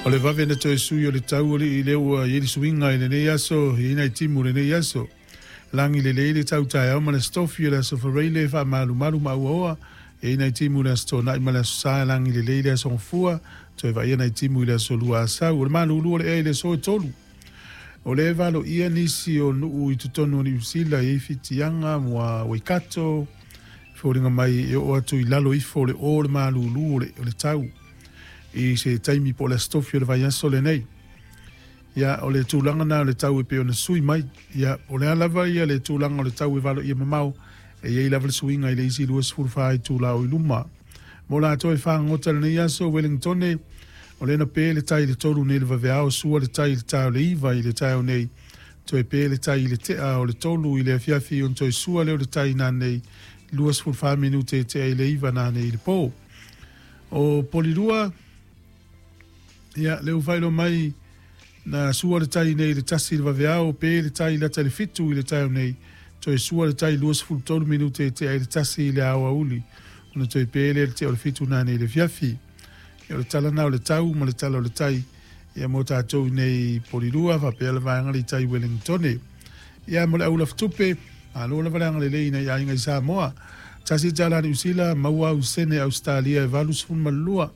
O le vave na toe sui o le tau alii lea ua i ai le suiga i lenei aso, e i ai nai timu i lenei aso. Lagi lelei le tau taeao ma le Aso Tofi, o le Aso Faraile e faamalumalu ma auaoa, e i ai nai timu i le Aso Toonai ma le Aso Sa, e lagi lelei le Aso Gafua, toe vaaia nai timu i le Aso Lua Asau. O le malulu o le ea i le aso e 3. O lea e valoia nisi o nuu i totonu o Niu Sila e i ai Fitiaga, Waikato, foliga mai e oo atu i lalo ifo o le o le malulu o le tau i se taimi po o le Aso Tofi o le vaiaso lenei. Ia, o le tulaga na o le tau e pei ona sui mai. Ia, o le a lava ia le tulaga o le tau e valoia mamao, e i ai lava le suiga i le isi 24 itula o i luma. Mo latou e fagogota i lenei aso, Wellingtone, o lea na pe le tai i le 3 nei i le vaveao, sua le tai i le ta o le 9 i le taeao nei, toe pe le tai i le tea o le 3 i le afiafi ona toe sua lea o le tai nanei 24 minute e tea i le 9 nanei i le po. O Polilua, ia, lea ua faailoa mai, na sua le tai nei i le 1 i le vaveao, pe le tai lata i le 7 i le taeao nei, toe sua le tai 23 minute e tea i le 1 i le aoauli, ona toe pe lea i le tea o le 7 nanei i le afiafi. Ia, o le tala na o le tau ma le tala o le tai, ia mo tatou nei Polilua, faapea le vaega le tai Wellingtone. Ia, mo le au lafutupe, malo lava le agalelei i nai aiga i Samoa. Tasi tala Niu Sila, maua au sene Ausetalia e 82.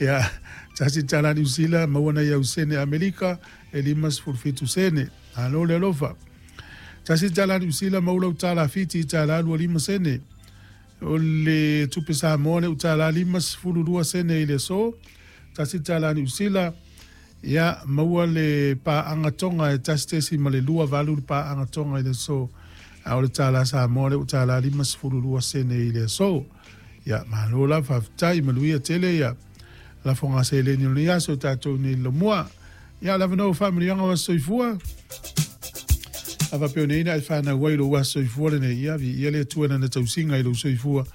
Ia, tasi tala Niu Sila, maua nai au sene Amerika e 57 sene. Malo le alofa. Tasi tala Niu Sila, maua lau tala Fiti, tala 25 sene. O le tupe Samoa lea ua tala 52 sene i le aso. Tasi tala Niu Sila, ia, maua le paaga Tonga e 1.28 le paaga Tonga i le aso. A o le tala Samoa lea ua tala 52 sene i le aso. Ia, malo la, faafetai, manuia tele ia lafoga seleni o lenei aso tatou nei lomua. Ia, le avanoa faamanuiaga o aso soifua. A faapea nei na e whanau ai lou aso soifua lenei, ia, viia le Atua nana tausiga i lou soifua,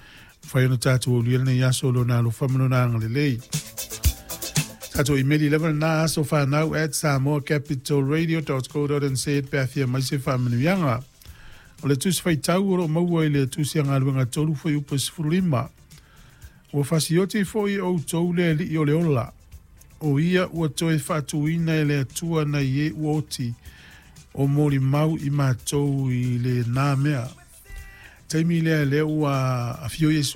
mafai ona tatou aulia lenei aso lona alofa ma lona agalelei. Tatou imeli lava lena asofanau@samoacapitalradio.co.nz pe a fia mai se faamanuiaga. O le tusi faitau o lo o maua i le tusi a Galuega 3 fuaiupu 15. Ua fasioti foi outou le Alii o le ola, o ia ua toe faatuina e le Atua nai e ua oti, o molimau i matou i lena mea. Taimi lea lea ua afio Iesu.